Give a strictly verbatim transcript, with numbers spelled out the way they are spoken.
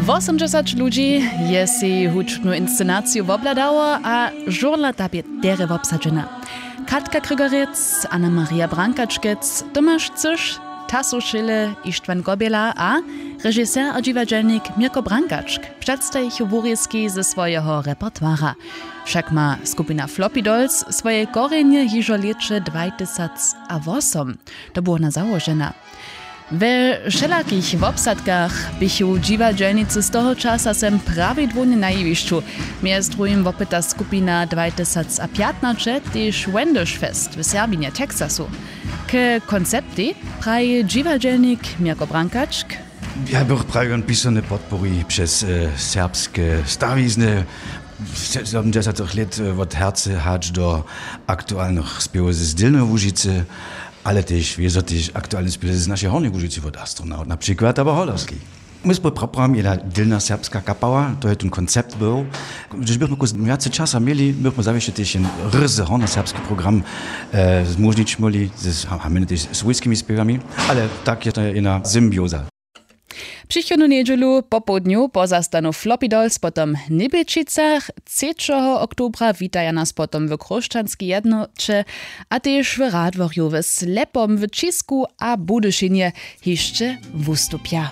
Wosomdźesać ludźi je sej hudźbnu inscenaciju wobhladało a žurla ta bě derje wobsadźena. Katka Krygarjec, Anna Maria Brankačkec, Tomaš Cyš, Tasu Šěle, Ištwan Kobjela a režiser a dźiwadźelnik Měrko Brankačk předstajichu wurězki ze swojeho repertoira. Wšak ma skupina Floppy Dolls swoje korjenje hižo w lěće dwajtysacawosym. To było na załožena. We wšelakich wobsadkach běchu dźiwadźelnicy z toho časa sem prawidłownje na jewišću. Mjez druhim wopyta skupina dwajtysacpjatnaće tež Wendish Fest w Serbinje, Texasu. K konceptej praji dźiwadźelnik Měrko Brankačk: Ja bych prajił, on pisane podpori přez e, serbske stawizny. Sedemdźesatych lět e, wot Herce hač do aktualnych spěwow z Dylneho Łužicy, ale tež wězo tež aktualne spěwow z našej Hornjej Łužicy, wot Astronaut na přikład abo Holerskej. My smy praprami jedna dylna serbska kapała, to je ten koncept był. Hdyž bychmy kus wjace časa měli, bychmy zawěsće tež jen ryzy hornjoserbski program e, zmóžnić móhli z, a my tež swójskimi spěwami, ale tak je to jedna symbioza. Přichodnu njedźelu popołdnju pozastanu Floppy Dolls potom w Njebjelčicach. Třećeho oktobra witaja nas potom w Chróšćanskej jednoće a tež w Radworju, w Slepom, w Ćisku a Budyšinje hišće wustupja.